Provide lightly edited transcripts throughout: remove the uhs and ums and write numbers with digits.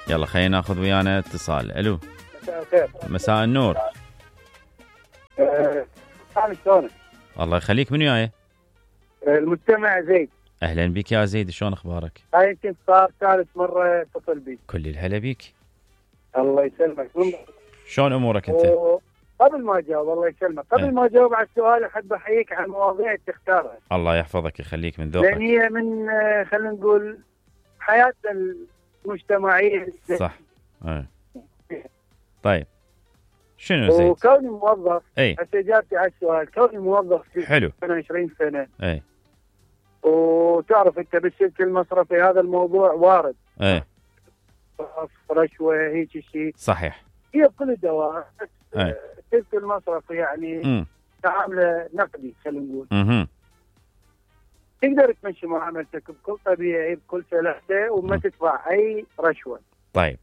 يلا خلينا ناخذ ويانا اتصال. الو مساء النور. شلونك؟ الله يخليك. من وياي؟ المستمع زيد. اهلا بك يا زيد، شلون اخبارك؟ هاي يمكن صار ثالث مره اتصل بيك. كل الهلا بيك. الله يسلمك. شلون امورك انت؟ قبل ما اجاوب الله يسلمك، قبل ما اجاوب على السؤال احب احييك على المواضيع اللي تختارها. الله يحفظك يخليك من ذوقك. لان هي من خلينا نقول حياتنا المجتمعيه. صح. طيب شنو زيد؟ وكوني موظف هسه اجابتي على السؤال، كوني موظف في حلو 20 سنه وتعرف انت بالسلك المصرفي هذا الموضوع وارد. رشوه هيك شيء. صحيح. هي بكل الدوائر. السلك المصرفي يعني تعامله نقدي خلينا نقول. تقدر تمشي معاملتك بكل طبيعي بكل سلاسه وما تدفع اي رشوه. طيب.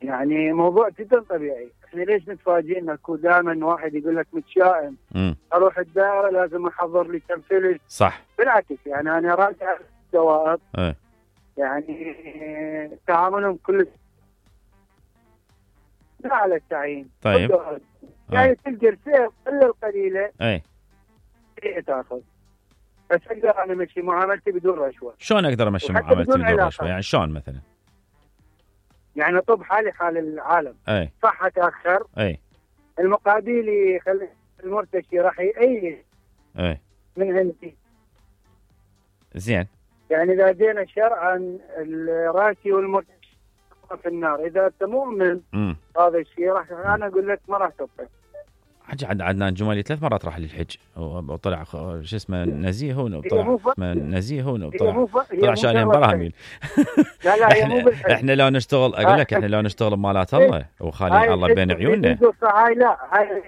يعني موضوع جدا طبيعي. احنا ليش متفاجئين اكو دائما واحد يقول لك متشائم اروح الدائره لازم احضر لي كم فلس. صح. بالعكس يعني انا راجع الدوائر يعني تعاملهم كل على التعيين. طيب. يعني تلقى الفئه الا القليله تاخذ. بس اقدر انا امشي معاملتي بدون رشوه. شلون اقدر امشي معاملتي بدون رشوه؟ يعني شلون مثلا؟ يعني طب حالي حال العالم. صح اتاخر. المقابل يخلي المرتشي راح يأيد من عندي. زين. يعني اذا جينا شرعا الراشي والمرتشي في النار، اذا انت مؤمن هذا الشيء راح انا اقول لك ما راح تبقى. حج عدنان جمالي 3 مرات راح للحج وطلع شو اسمه نزيه هون طلع شالين براهمين. لا احنا لو نشتغل اقول لك احنا لو نشتغل بمالات الله وخالي الله بين عيوننا. هاي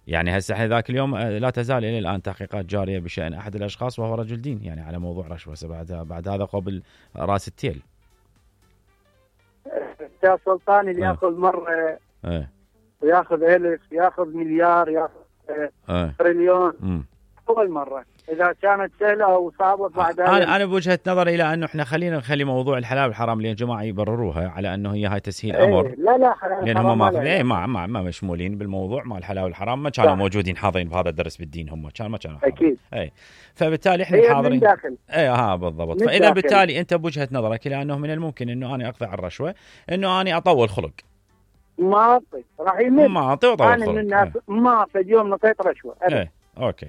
يعني هسه احنا ذاك اليوم لا تزال الى الان تحقيقات جاريه بشان احد الاشخاص وهو رجل دين يعني على موضوع رشوه. بعد هذا قبل راس التيل. يا سلطان اللي ياخذ مره وياخذ ألف ياخذ مليار ياخذ تريليون اول مره. اذا كانت سهله او صعبه بعد انا بوجهه نظري الى انه احنا خلينا نخلي موضوع الحلال والحرام اللي الجماعه يبرروها على انه هي هاي تسهيل امر. لا حلال لان هم ما مشمولين بالموضوع مال الحلال والحرام، ما كانوا موجودين حاضرين بهذا الدرس بالدين، هم ما كانوا اكيد. فبالتالي احنا حاضرين بالضبط. فاذا بالتالي انت بوجهه نظرك الى انه من الممكن انه انا اقضي على الرشوه، انه انا اطول خلق. ما اعطي راح يمد. ما اعطي وطول خلق. انا من الناس ما اعطي اليوم نطيت رشوه. اوكي.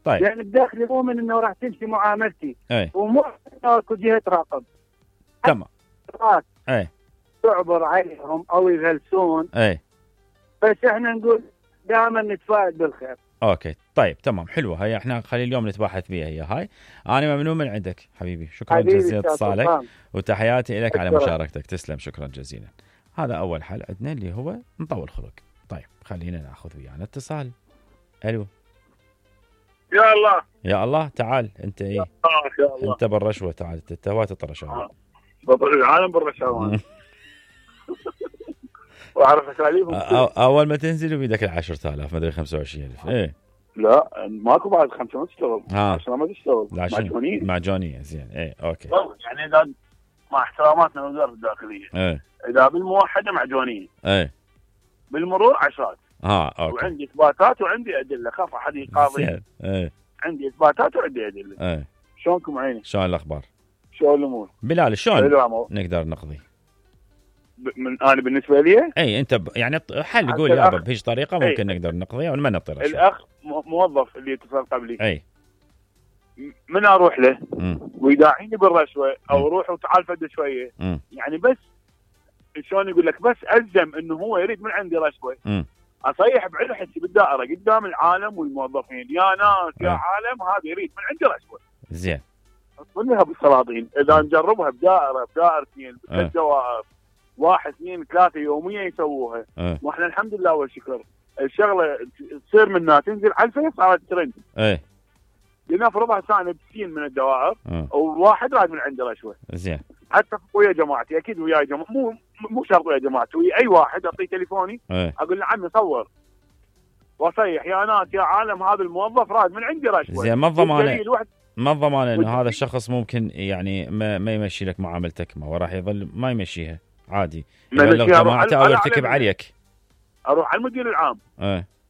طيب. يعني بداخلي مؤمن انه راح تمشي معاملتي. ومو اكو جهه تراقب. تمام. تعبر عليهم او يغلسون. بس احنا نقول دائما نتفائل بالخير. اوكي طيب تمام حلوه هي. احنا خلي اليوم نتباحث بها هي هاي. انا ممنون من عندك حبيبي. شكرا جزيلا اتصالك وتحياتي لك على مشاركتك. تسلم شكرا جزيلا. هذا اول حل عندنا اللي هو نطول خلق. طيب خلينا ناخذ ويانا اتصال. الو. يا الله تعال انت. يا الله. انت بالرشوه تعال انت وات الرشاوى. العالم بالرشاوى. واعرف اساليبهم. اول ما تنزل بيدك 10,000 ما ادري 25,000. لا ماكو بعد 5 ما تشتغل. عشان ما تشتغل معجونيه. زين اوكي. يعني اذا مع احتراماتنا للوزاره الداخليه اذا بالموحده معجونيه بالمرور 10. اوكي. وعندي اثباتات وعندي ادله، خاف احد يقاضي. عندي اثباتات وعندي ادله. شلونكم عيني؟ شلون الاخبار؟ شلون الامور؟ بلال شلون نقدر نقضي؟ انا بالنسبه لي انت يعني حل قول يابا بهيج طريقه ممكن نقدر نقضيها وما نطير. الاخ موظف اللي اتصل قبلي من اروح له ويداعيني بالرشوه او روح وتعال فد شويه يعني بس شلون يقول لك بس الزم انه هو يريد من عندي رشوه. اصيح بعلو حسي بالدائره قدام العالم والموظفين يا ناس يا عالم هذا يريد من عندي رشوه. زين اصلها بالسلاطين اذا نجربها بدائرتين بالدوائر 1 2 3 يوميا يسووها. واحنا الحمد لله والشكر الشغله تصير منها تنزل على الفيس صارت ترند. لنفرضها سنه بسين من الدوائر وواحد راد من عنده رشوه. زين. حتى ويا جماعتي اكيد ويا جماعه مو شرط ويا جماعتي ويا اي واحد اعطيه تليفوني اقول له عمي صور واصيح يا ناس يا عالم هذا الموظف راد من عندي رشوه. زين ما الضمانه ما الضمان انه هذا الشخص ممكن يعني ما يمشي لك معاملتك، ما هو راح يظل ما يمشيها عادي، يبلغ جماعته او يرتكب عليك. اروح على المدير العام